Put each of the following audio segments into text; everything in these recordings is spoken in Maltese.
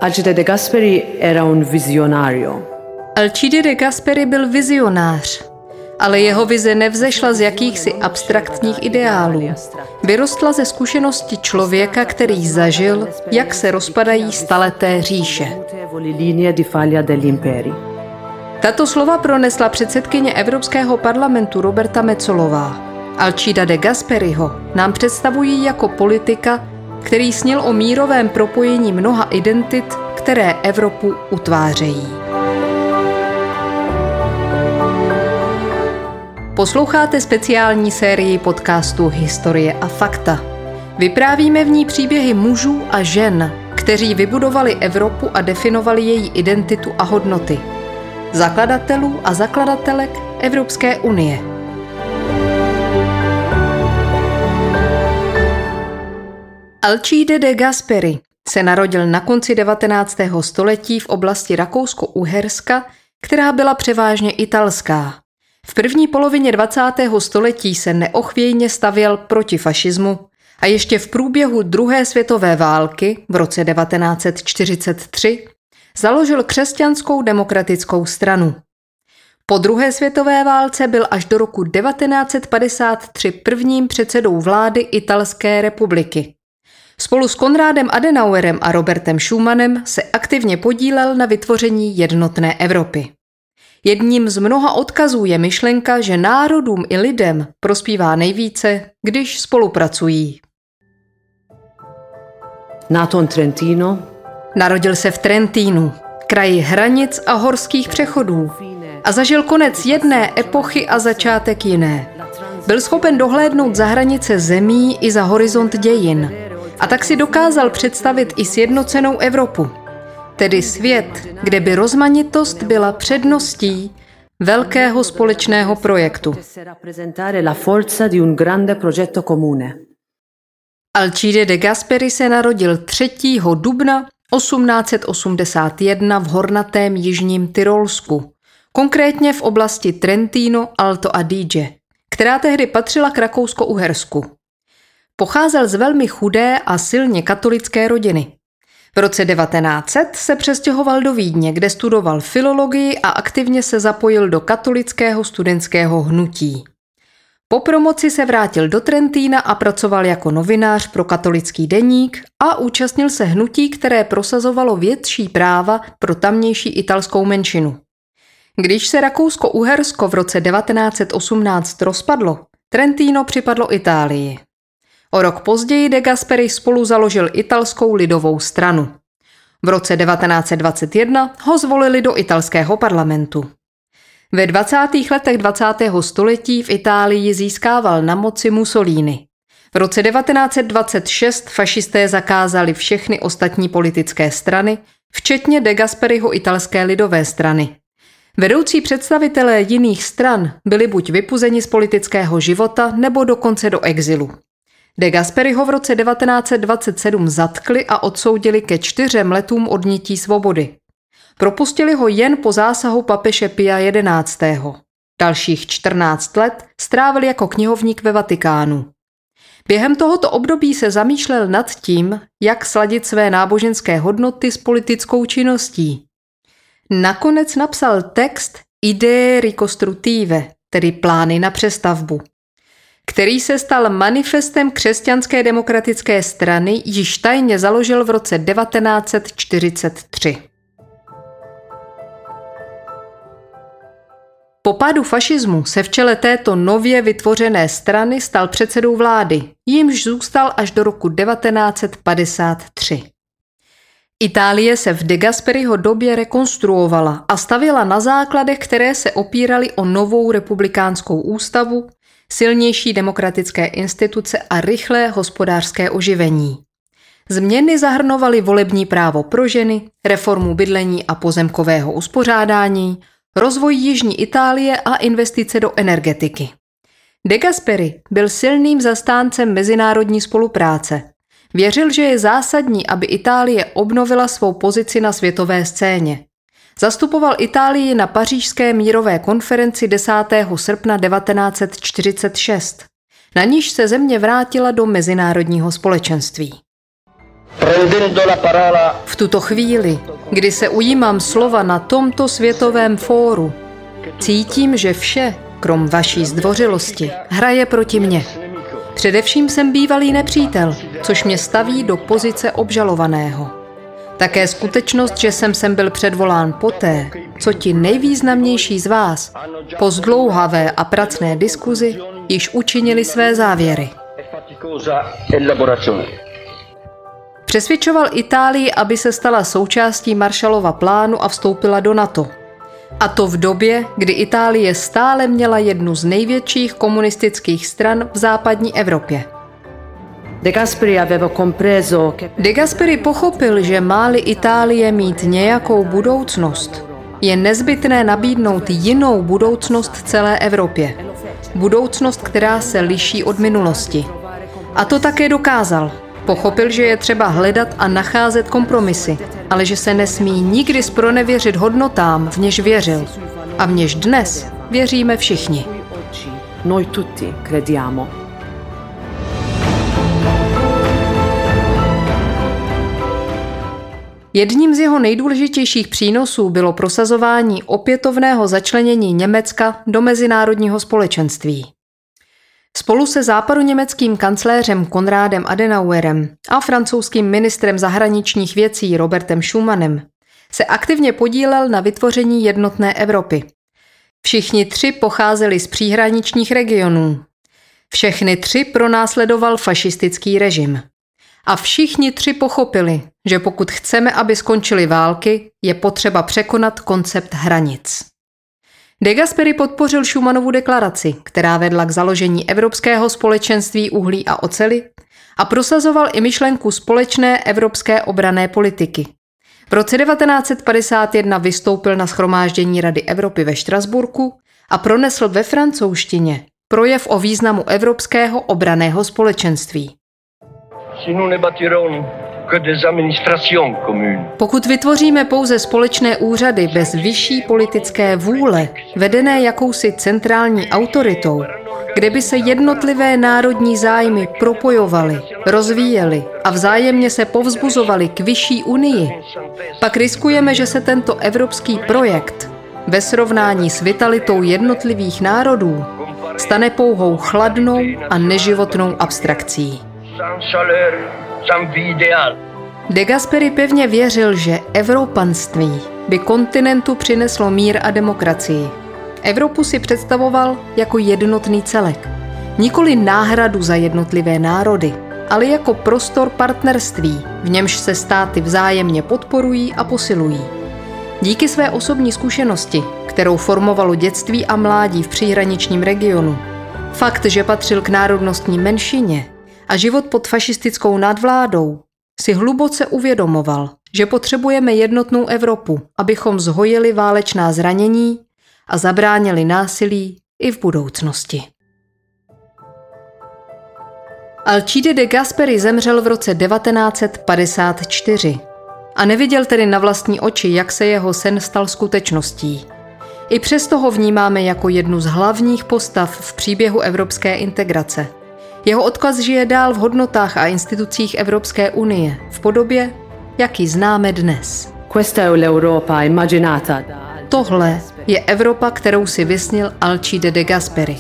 Alcide De Gasperi era un visionario. Alcide De Gasperi byl vizionář, ale jeho vize nevzešla z jakýchsi abstraktních ideálů. Vyrostla ze zkušenosti člověka, který zažil, jak se rozpadají staleté říše. Tato slova pronesla předsedkyně Evropského parlamentu Roberta Metsolová. Alcida de Gasperiho nám představují jako politika, který snil o mírovém propojení mnoha identit, které Evropu utvářejí. Posloucháte speciální sérii podcastu Historie a fakta. Vyprávíme v ní příběhy mužů a žen, kteří vybudovali Evropu a definovali její identitu a hodnoty. Zakladatelů a zakladatelek Evropské unie. Alcide de Gasperi se narodil na konci 19. století v oblasti Rakousko-Uherska, která byla převážně italská. V první polovině 20. století se neochvějně stavěl proti fašismu a ještě v průběhu druhé světové války v roce 1943 založil křesťanskou demokratickou stranu. Po druhé světové válce byl až do roku 1953 prvním předsedou vlády Italské republiky. Spolu s Konrádem Adenauerem a Robertem Schumannem se aktivně podílel na vytvoření jednotné Evropy. Jedním z mnoha odkazů je myšlenka, že národům i lidem prospívá nejvíce, když spolupracují. Nato in Trentino. Narodil se v Trentínu, kraji hranic a horských přechodů, a zažil konec jedné epochy a začátek jiné. Byl schopen dohlédnout za hranice zemí i za horizont dějin. A tak si dokázal představit i sjednocenou Evropu. Tedy svět, kde by rozmanitost byla předností velkého společného projektu. Alcide de Gasperi se narodil 3. dubna 1881 v hornatém jižním Tyrolsku, konkrétně v oblasti Trentino Alto Adige, která tehdy patřila k Rakousko-Uhersku. Pocházel z velmi chudé a silně katolické rodiny. V roce 1900 se přestěhoval do Vídně, kde studoval filologii a aktivně se zapojil do katolického studentského hnutí. Po promoci se vrátil do Trentína a pracoval jako novinář pro katolický deník a účastnil se hnutí, které prosazovalo větší práva pro tamější italskou menšinu. Když se Rakousko-Uhersko v roce 1918 rozpadlo, Trentino připadlo Itálii. O rok později de Gasperi spolu založil italskou lidovou stranu. V roce 1921 ho zvolili do italského parlamentu. Ve 20. letech 20. století v Itálii získával na moci Mussolini. V roce 1926 fašisté zakázali všechny ostatní politické strany, včetně de Gasperiho italské lidové strany. Vedoucí představitelé jiných stran byli buď vypuzeni z politického života, nebo dokonce do exilu. De Gasperiho v roce 1927 zatkli a odsoudili ke 4 letům odnětí svobody. Propustili ho jen po zásahu papeže Pia XI. Dalších 14 let strávil jako knihovník ve Vatikánu. Během tohoto období se zamýšlel nad tím, jak sladit své náboženské hodnoty s politickou činností. Nakonec napsal text Idee ricostruttive, tedy plány na přestavbu, který se stal manifestem Křesťanské demokratické strany, již tajně založil v roce 1943. Po pádu fašismu se v čele této nově vytvořené strany stal předsedou vlády, jímž zůstal až do roku 1953. Itálie se v De Gasperiho době rekonstruovala a stavěla na základech, které se opíraly o novou republikánskou ústavu, silnější demokratické instituce a rychlé hospodářské oživení. Změny zahrnovaly volební právo pro ženy, reformu bydlení a pozemkového uspořádání, rozvoj jižní Itálie a investice do energetiky. De Gasperi byl silným zastáncem mezinárodní spolupráce. Věřil, že je zásadní, aby Itálie obnovila svou pozici na světové scéně. Zastupoval Itálii na pařížské mírové konferenci 10. srpna 1946. Na níž se země vrátila do mezinárodního společenství. Prendendo la parola V tuto chvíli, kdy se ujímám slova na tomto světovém fóru, cítím, že vše, krom vaší zdvořilosti, hraje proti mně. Především jsem bývalý nepřítel, což mě staví do pozice obžalovaného. Také skutečnost, že jsem sem byl předvolán poté, co ti nejvýznamnější z vás po zdlouhavé a pracné diskuzi již učinili své závěry. Přesvědčoval Itálii, aby se stala součástí Marshallova plánu a vstoupila do NATO. A to v době, kdy Itálie stále měla jednu z největších komunistických stran v západní Evropě. De Gasperi aveva compreso che De Gasperi pochopil, že má-li Itálie mít nějakou budoucnost, je nezbytné nabídnout jinou budoucnost celé Evropě. Budoucnost, která se liší od minulosti. A to také dokázal. Pochopil, že je třeba hledat a nacházet kompromisy, ale že se nesmí nikdy spronevěřit hodnotám, v něž věřil. A v něž dnes věříme všichni. Noi tutti crediamo. Jedním z jeho nejdůležitějších přínosů bylo prosazování opětovného začlenění Německa do mezinárodního společenství. Spolu se západoněmeckým kancléřem Konrádem Adenauerem a francouzským ministrem zahraničních věcí Robertem Schumanem se aktivně podílel na vytvoření jednotné Evropy. Všichni tři pocházeli z příhraničních regionů. Všechny tři pronásledoval fašistický režim. A všichni tři pochopili, že pokud chceme, aby skončily války, je potřeba překonat koncept hranic. De Gasperi podpořil Schumannovu deklaraci, která vedla k založení Evropského společenství uhlí a oceli a prosazoval i myšlenku společné evropské obranné politiky. V roce 1951 vystoupil na shromáždění Rady Evropy ve Štrasburku a pronesl ve francouzštině projev o významu Evropského obranného společenství. Si nous ne bâtirons que des administrations communes, Pokud vytvoříme pouze společné úřady bez vyšší politické vůle, vedené jakousi centrální autoritou, kde by se jednotlivé národní zájmy propojovaly, rozvíjely a vzájemně se povzbuzovaly k vyšší unii, pak riskujeme, že se tento evropský projekt ve srovnání s vitalitou jednotlivých národů stane pouhou chladnou a neživotnou abstrakcí. sans chaleur, sans vie idéale. De Gasperi pevně věřil, že evropanství by kontinentu přineslo mír a demokracii. Evropu si představoval jako jednotný celek. Nikoli náhradu za jednotlivé národy, ale jako prostor partnerství, v němž se státy vzájemně podporují a posilují. Díky své osobní zkušenosti, kterou formovalo dětství a mládí v příhraničním regionu, fakt, že patřil k národnostní menšině a život pod fašistickou nadvládou, si hluboce uvědomoval, že potřebujeme jednotnou Evropu, abychom zhojili válečná zranění a zabránili násilí i v budoucnosti. Alcide de Gasperi zemřel v roce 1954 a neviděl tedy na vlastní oči, jak se jeho sen stal skutečností. I přesto ho vnímáme jako jednu z hlavních postav v příběhu evropské integrace. Jeho odkaz žije dál v hodnotách a institucích Evropské unie v podobě, jak ji známe dnes. Questa è l'Europa immaginata da Tohle je Evropa, kterou si vysnil Alcide de Gasperi.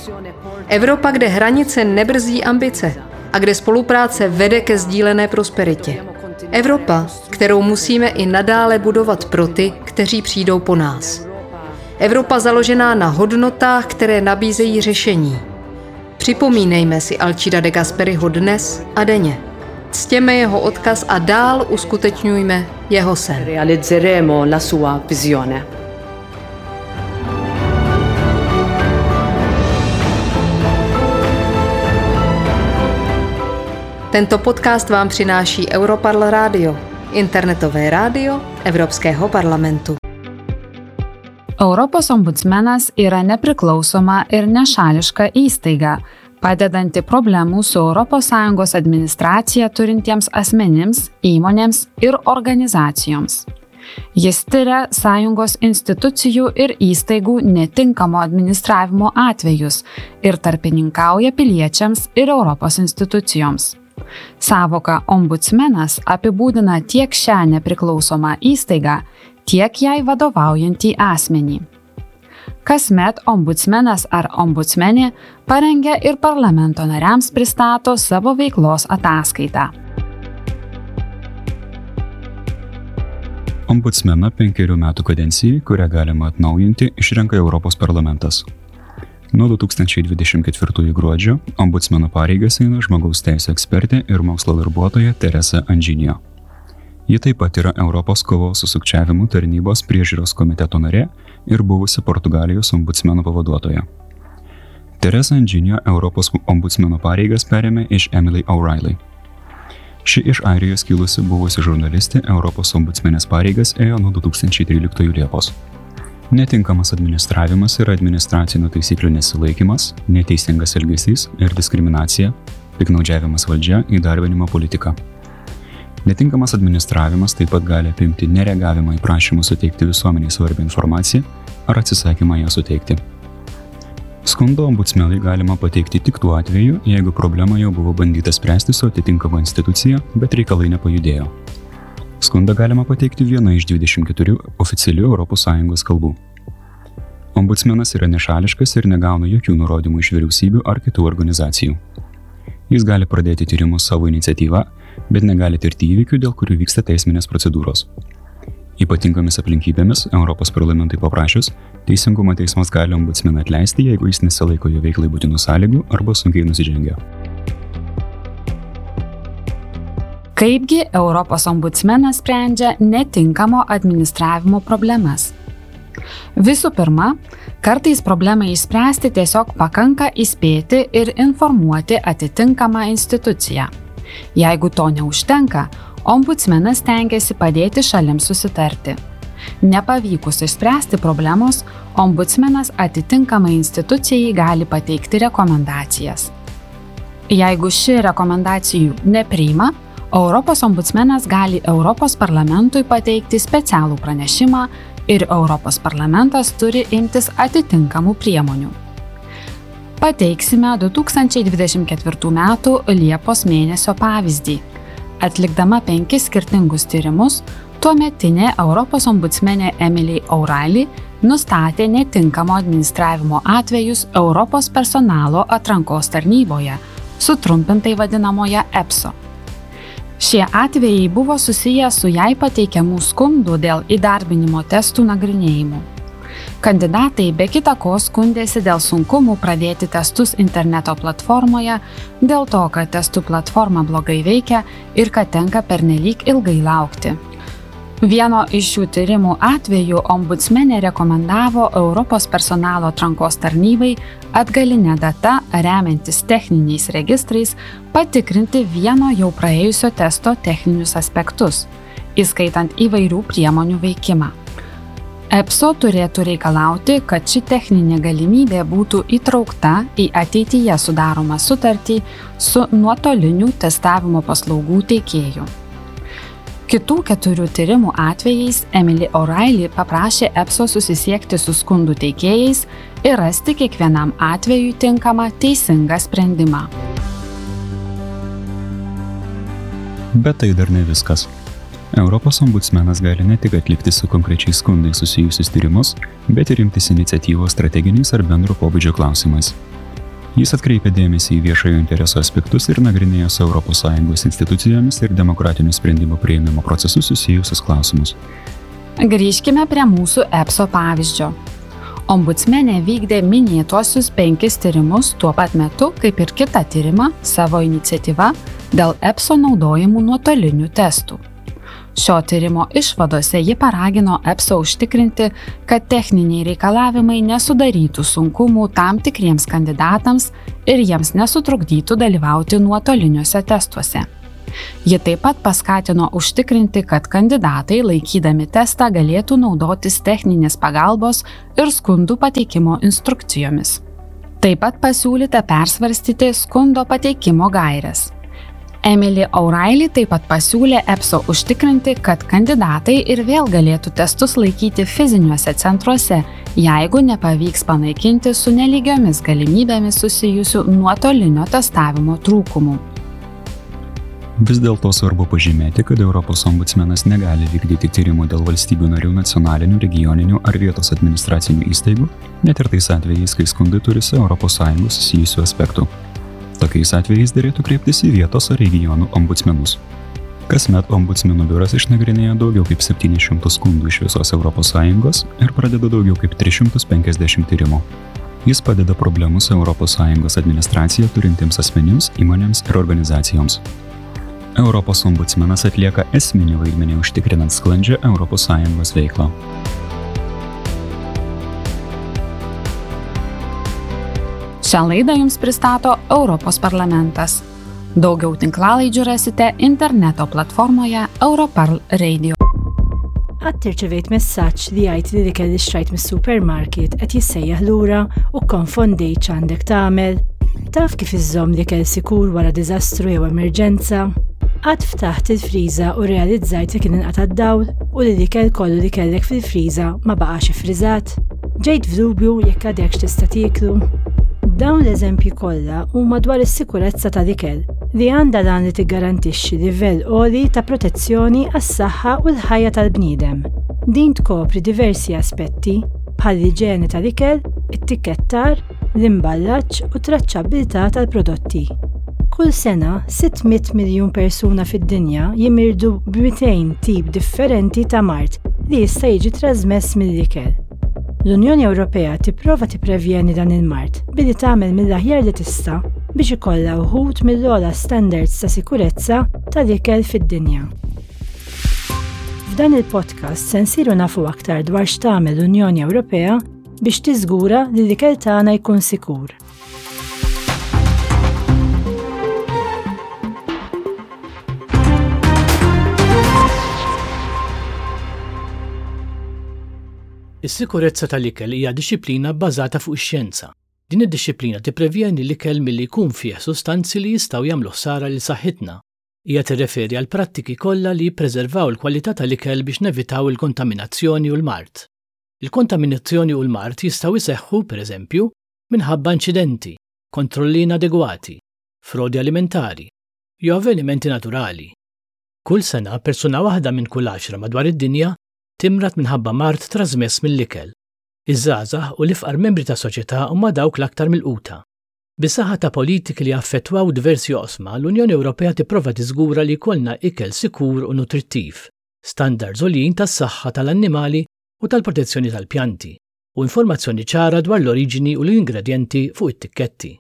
Evropa, kde hranice nebrzdí ambice a kde spolupráce vede ke sdílené prosperitě. Evropa, kterou musíme i nadále budovat pro ty, kteří přijdou po nás. Evropa založená na hodnotách, které nabízejí řešení. Připomínejme si Alcida de Gasperiho dnes a denně. Ctěme jeho odkaz a dál uskutečňujme jeho sen. Realizzeremo la sua visione. Tento podcast vám přináší Europarl Radio, internetové rádio Evropského parlamentu. Europos ombudsmenas yra nepriklausoma ir nešališka įstaiga, padedanti problemų su ES administracija turintiems asmenims, įmonėms ir organizacijoms. Jis tiria sąjungos institucijų ir įstaigų netinkamo administravimo atvejus ir tarpininkauja piliečiams ir Europos institucijoms. Sąvoka ombudsmenas apibūdina tiek šią nepriklausomą įstaigą, tiek jai vadovaujantį asmenį. Kasmet ombudsmenas ar ombudsmenė parengia ir parlamento nariams pristato savo veiklos ataskaitą. Ombudsmeną 5 metų kadencijai, kurią galima atnaujinti, išrenka Europos parlamentas. Nuo 2024 gruodžio ombudsmeno pareigas eina žmogaus teisų ekspertė ir mokslo darbuotoja Teresa Anžinio. Ji taip pat yra Europos kovos su sukčiavimu tarnybos priežiūros komiteto narė ir buvusi Portugalijos ombudsmeno pavaduotoja. Teresa Anžinio Europos ombudsmeno pareigas perėmė iš Emily O'Reilly. Ši iš Airijos kilusi buvusi žurnalistė Europos ombudsmenės pareigas ėjo nuo 2013 Liepos. Netinkamas administravimas yra administracinių taisyklių nesilaikymas, neteisingas elgesys ir diskriminacija, piktnaudžiavimas valdžia, įdarbinimo politika. Netinkamas administravimas taip pat gali apimti nereagavimą į prašymus suteikti visuomenei svarbią informaciją ar atsisakymą ją suteikti. Skundo ombudsmenui galima pateikti tik tuo atveju, jeigu problemą jau buvo bandyta spręsti su atitinkama institucija, bet reikalai nepajudėjo. Skundą galima pateikti viena iš 24 oficialių ES kalbų. Ombudsmenas yra nešališkas ir negauna jokių nurodymų iš vyriausybių ar kitų organizacijų. Jis gali pradėti tyrimus savo iniciatyva, bet negali tirti įvykių, dėl kurių vyksta teisminės procedūros. Ypatingomis aplinkybėmis, Europos parlamentui paprašius, Teisingumo teismas gali ombudsmeną atleisti, jeigu jis nesilaiko jo veiklai būtinų sąlygų arba sunkiai nusižengia. Kaipgi Europos ombudsmenas sprendžia netinkamo administravimo problemas? Visų pirma, kartais problemą išspręsti tiesiog pakanka įspėti ir informuoti atitinkamą instituciją. Jeigu to neužtenka, ombudsmenas stengiasi padėti šalims susitarti. Nepavykus išspręsti problemos, ombudsmenas atitinkamai institucijai gali pateikti rekomendacijas. Jeigu ši rekomendacijų nepriima, Europos ombudsmenas gali Europos parlamentui pateikti specialų pranešimą ir Europos parlamentas turi imtis atitinkamų priemonių. Pateiksime 2024 m. Liepos mėnesio pavyzdį. Atlikdama 5 skirtingus tyrimus, tuometinė Europos ombudsmenė Emily O'Reilly nustatė netinkamo administravimo atvejus Europos personalo atrankos tarnyboje, sutrumpintai vadinamoje EPSO. Šie atvejai buvo susiję su jai pateikiamų skundų dėl įdarbinimo testų nagrinėjimų. Kandidatai be kita ko skundėsi dėl sunkumų pradėti testus interneto platformoje, dėl to, kad testų platforma blogai veikia ir kad tenka pernelyg ilgai laukti. Vieno iš šių tyrimų atveju ombudsmenė rekomendavo Europos personalo atrankos tarnybai atgaline data, remiantis techniniais registrais, patikrinti vieno jau praėjusio testo techninius aspektus, įskaitant įvairių priemonių veikimą. EPSO turėtų reikalauti, kad ši techninė galimybė būtų įtraukta į ateityje sudaromą sutartį su nuotolinių testavimo paslaugų teikėju. Kitų 4 tyrimų atvejais Emily O'Reilly paprašė EPSO susisiekti su skundų teikėjais ir rasti kiekvienam atvejui tinkamą teisingą sprendimą. Bet tai dar ne viskas. Europos ombudsmenas gali ne tik atlikti su konkrečiais skundais susijusius tyrimus, bet ir imtis iniciatyvos strateginiais ar bendro pobūdžio klausimais. Jis atkreipia dėmesį į viešojo intereso aspektus ir nagrinėja su ES institucijomis ir demokratinių sprendimų priėmimo procesu susijusius klausimus. Grįžkime prie mūsų EPSO pavyzdžio. Ombudsmenė vykdė minėtuosius 5 tyrimus tuo pat metu, kaip ir kitą tyrimą savo iniciatyva dėl EPSO naudojimų nuotolinių testų. Šio tyrimo išvadose ji paragino EPSO užtikrinti, kad techniniai reikalavimai nesudarytų sunkumų tam tikriems kandidatams ir jiems nesutrukdytų dalyvauti nuotoliniuose testuose. Ji taip pat paskatino užtikrinti, kad kandidatai laikydami testą galėtų naudotis techninės pagalbos ir skundų pateikimo instrukcijomis. Taip pat pasiūlyta persvarstyti skundo pateikimo gaires. Emily O'Reilly taip pat pasiūlė EPSO užtikrinti, kad kandidatai ir vėl galėtų testus laikyti fiziniuose centruose, jeigu nepavyks panaikinti su nelygiomis galimybėmis susijusių nuotolinio testavimo trūkumų. Vis dėlto svarbu pažymėti, kad Europos ombudsmenas negali vykdyti tyrimų dėl valstybių narių nacionalinių, regioninių ar vietos administracinių įstaigų, net ir tais atvejais, kai skundai turi su ES susijusių aspektų. Tokiais atvejais derėtų kreiptis į vietos ar regionų ombudsmenus. Kasmet ombudsmenų biuras išnagrinėja daugiau kaip 700 skundų iš visos ES ir pradeda daugiau kaip 350 tyrimų. Jis padeda problemų su ES administracija turintiems asmenims, įmonėms ir organizacijoms. Europos ombudsmenas atlieka esminį vaidmenį užtikrinant sklandžią ES veiklą. Šią laidą jums pristato Europos parlamentas. Daugiau tinklalaidžių rasite interneto platformoje Europarl Radio. Qatt irċevejt messaġġ li jgħid li l-ikel li xtrajt mis-supermarket qed jissejjaħ lura u kkonfondejt x'għandek tagħmel? Taf kif iżżomm l-ikel sikur wara diżastru jew emerġenza? Qatt ftaħt il-friża u rrealizzajt li kien inqata' d-dawl u li l-ikel kollu li kellek fil-friża ma baqax iffriżat? Ġejt f'dubju jekk għadekx tista' tieklu? Dawn l-eżempji kollha huma dwar is-sikurezza tal-ikel, li għandha l-għan li tiggarantixxi livell għoli ta' protezzjoni għas-saħħa u l-ħajja tal-bniedem. Din tkopri diversi aspetti, bħall-iġene tal-ikel, it-tikkettar, l-imballaġġ u t-traċċabbiltà tal-prodotti. Kull sena, 600 miljun persuna fid-dinja jimirdu b'200 tip differenti ta' mard li jista' jiġi trażmess mill-ikel. L-Unjoni Ewropea tipprova tipprevjeni dan il-mard billi tagħmel mill-aħjar li tista' biex ikollha wħud mill-ogħla standards ta' sikurezza tal-ikel fid-dinja. F'dan il-podcast se nsiru nafu aktar dwar x'tagħmel l-Unjoni Ewropea biex tiżgura li l-ikel tagħna jkun sikur. Is-sikurezza tal-ikel hija dixxiplina bbażata fuq ix-xjenza. Din id-dixxiplina tipprevjeni l-ikel milli jkun fih sustanzi li jistgħu jagħmlu ħsara lil saħħitna. Hija tirreferi għall-prattiki kollha li jippreservaw il-kwalità tal-ikel biex nevitaw il-kontaminazzjoni u l-mard. Il-kontaminazzjoni u l-mard jistgħu jseħħu, pereżempju, minħabba inċidenti, kontrolli inadegwati, frodi alimentari, jew avvenimenti naturali. Kull sena, persuna waħda minn kull għaxra madwar id-dinja timrad minħabba mard trażmess mill-ikel. Iż-żgħażagħ u l-ifqar membri tas-soċjetà huma dawk l-aktar milquta. Bis-saħħa ta' politiki li jaffettwaw diversi oqsma, l-Unjoni Ewropea tipprova tiżgura li jkollna ikel sikur u nutrittiv, standards għoljin tas-saħħa tal-annimali u tal-protezzjoni tal-pjanti, u informazzjoni ċara dwar l-oriġini u l-ingredjenti fuq it-tikketti.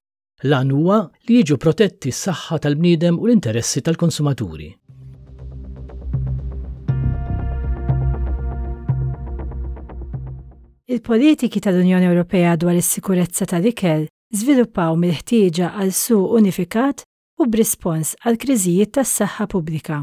L-għan huwa li jiġu protetti s-saħħa tal-bniedem u l-interessi tal-konsumaturi. Il-politiki tal-Unjoni Ewropea dwar is-sikurezza tal-ikel żviluppaw mill-ħtieġa għal suq unifikat u b'rispons għall-kriżijiet tas-saħħa pubblika.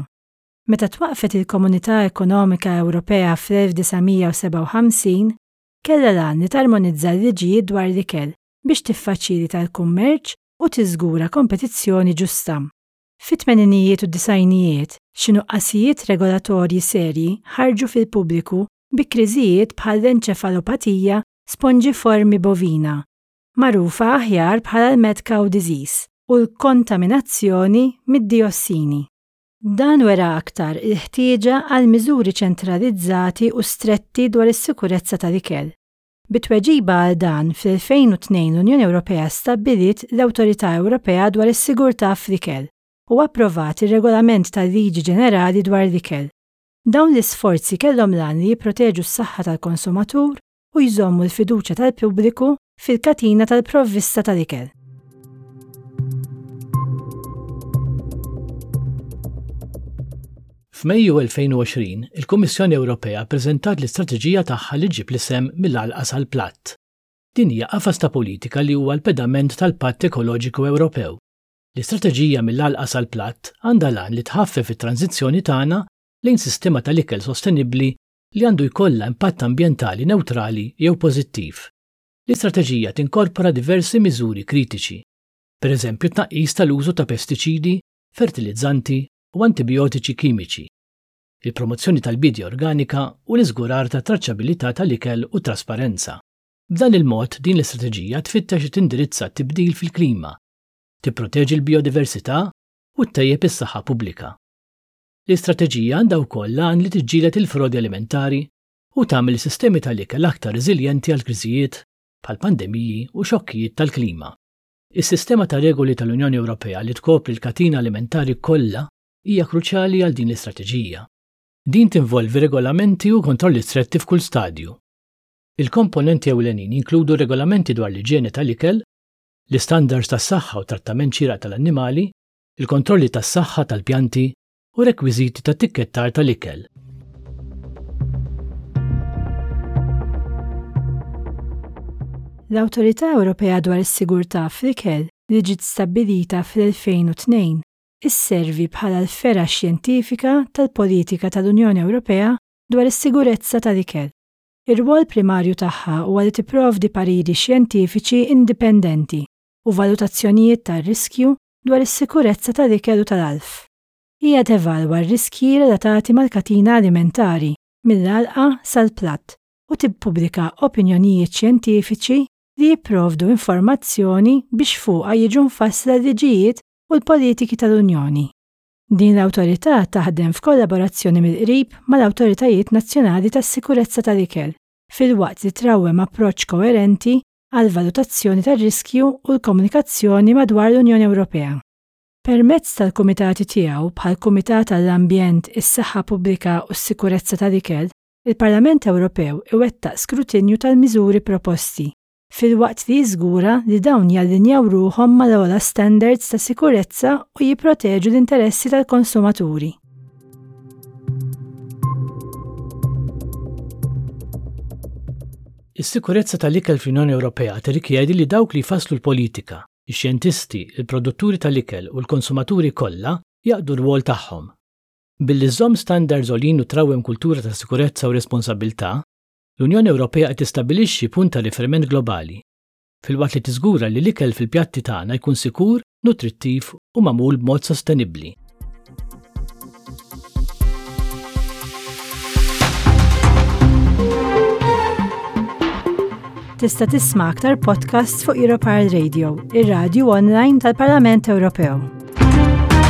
Meta twaqqfet il-Komunità Ekonomika Ewropea fl-1957, kellha l-għan li tarmonizza l-liġijiet dwar l-ikel biex tiffaċilita l-kummerċ u tiżgura kompetizzjoni ġusta. Fit-tmeninijiet u d-disgħinijiet, xi nuqqasijiet regolatorji serji ħarġu fil-pubbliku bi kriżijiet bħall-enċefalopatija sponġiformi bovina, magħrufa aħjar bħala l-mad cow disease, u l-kontaminazzjoni mid-diossini. Dan wera aktar il-ħtieġa għal miżuri ċentralizzati u stretti dwar is-sikurezza tal-ikel. Bi tweġiba għal dan, fl-2002 l-Unjoni Ewropea stabbiliet l-Awtorità Ewropea dwar is-Sigurtà fl-Ikel u approvat ir-Regolament tal-Liġi Ġenerali dwar l-Ikel. Dawn l-isforzi kellhom l-għan li jipproteġu s-saħħa tal-konsumatur u jżommu l-fiduċja tal-pubbliku fil-katina tal-provvista tal-ikel. F'Mejju 2020, il-Kummissjoni Ewropea ppreżentat l-istrateġija tagħha li ġġib l-isem Mill-Għalqa sal-Platt. Din hija qafas ta' politika li huwa l-pedament tal-Patt Ekoloġiku Ewropew. L-istrateġija Mill-Għalqa sal-Platt għandha l-għan li tħaffef it-tranżizzjoni tagħna lejn sistema tal-ikel sostenibbli li għandu jkollha impatt ambjentali newtrali jew pożittiv. L-istrateġija tinkorpora diversi miżuri kritiċi, pereżempju t-tnaqqis tal-użu ta' pestiċidi, fertilizzanti u antibijotiċi kimiċi, il-promozzjoni tal-biedja organika u l-iżgurar tat-traċċabilità tal-ikel u t-trasparenza. B'dan il-mod, din l-istrateġija tfittex li tindirizza t-tibdil fil-klima, tipproteġi l-bijodiversità u ttejjeb is-saħħa pubblika. L-istrateġija għandha wkoll l-għan li tiġġieled il-frodi alimentari u tagħmel is-sistemi tal-ikel aktar reżiljenti għal kriżijiet bħal pandemiji u xokkijiet tal-klima. Is-sistema ta' regoli tal-Unjoni Ewropea li tkopri l-katina alimentari kollha hija kruċjali għal din l-istrateġija. Din tinvolvi regolamenti u kontrolli stretti f'kull stadju. Il-komponenti ewlenin jinkludu regolamenti dwar l-iġjene tal-ikel, l-istandards tas-saħħa u trattament xieraq tal-annimali, il-kontrolli tas-saħħa tal-pjanti u rekwiżiti ta' tikkettar tal-ikel. L-Awtorità Ewropea dwar is-Sigurtà fl-Ikel, li ġiet stabbilita fl-2002, isservi bħala l-fergħa xjentifika tal-politika tal-Unjoni Ewropea dwar is-sigurezza tal-ikel. Ir-rwol primarju tagħha huwa li tipprovdi pariri xjentifiċi indipendenti u valutazzjonijiet tar-riskju dwar is-sikurezza tal-ikel u tal-għalf. Hija tevalwa r-riskji relatati mal-katina alimentari, mill-għalqa sal-platt, u tippubblika opinjonijiet xjentifiċi li jipprovdu informazzjoni biex fuqha jiġu mfassla l-liġijiet u l-politiki tal-Unjoni. Din l-awtorità taħdem f'kollaborazzjoni mill-qrib mal-awtoritajiet nazzjonali tas-sikurezza tal-ikel, filwaqt li trawwem approċċ koerenti għall-valutazzjoni tar-riskju u l-komunikazzjoni madwar l-Unjoni Ewropea. Permezz tal-kumitati tiegħu bħall-Kumitat għall-Ambjent, is-Saħħa Pubblika u s-Sikurezza tal-Ikel, il-Parlament Ewropew iwettaq skrutinju tal-miżuri proposti, filwaqt li jiżgura li dawn jallinjaw ruħhom mal-ogħla standards ta' sikurezza u jipproteġu l-interessi tal-konsumaturi. Is-sikurezza tal-ikel fl-Unjoni Ewropea tirrikjedi li dawk li jfasslu l-politika, ix-xjentisti, il-produtturi tal-ikel u l-konsumaturi kollha jaqdu r-rwol tagħhom. Billi żżomm standards għoljin u trawwem kultura ta' sikurezza u responsabbiltà, l-Unjoni Ewropea qed tistabbilixxi punt ta' riferiment globali, filwaqt li tiżgura li l-ikel fil-pjatti tagħna jkun sikur, nutrittiv u magħmul b'mod sostenibbli. Tista' tisma' aktar podcasts fuq Europarl Radio, ir-radju online tal-Parlament Ewropew.